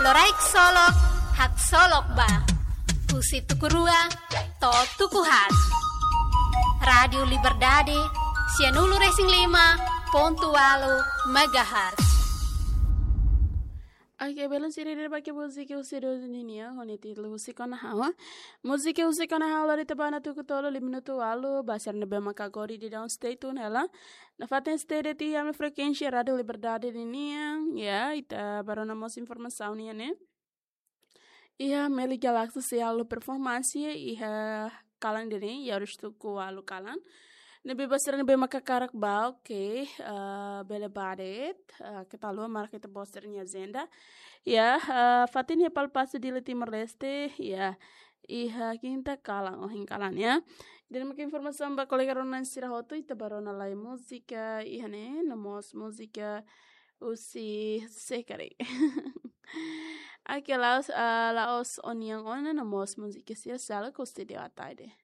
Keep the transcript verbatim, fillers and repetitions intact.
Loraik solok, haksolok ba. Husi tuku rua to'o tuku haat. Rádiu Liberdade, sianulu-resin-lima pontu ualu megahertz. Oke, belun sira, ida-ne'e mak múzika husi Dodô nian, ho nia títulu Husik ona ha'u. Múzika Husik ona ha'u lori ita ba ona tuku tolu, lima minutu ualu, ba sira ne'ebé maka agora daudaun stay tune hela. Nafatin stay de'it iha ami frekuénsia Rádiu Liberdade nian, ya, ita bá rona mós informasaun nian ne'e. Iha Meli Galaxy sei halo performance iha kalan ida-ne'e, iha oras tuku ualu kalan. Ne'ebé ba sira ne'ebé maka hakarak bá, oke, eh, bele bá de'it, eh, keta haluha marka ita-boot sira-nia ajenda. Ya, eh, fatin iha Palásiu Dili Timor-Leste, ya, iha kinta kalan, ohin kalan, ya. Ida-ne'e mak informasaun ba kolega rona sira hotu, ita bá rona lai múzika iha ne'e, no mós múzika husi Sekari. Oke, la'ós, ah, la'ós ó-nian ona, no mós múzika sira seluk husi Dewa Ataide.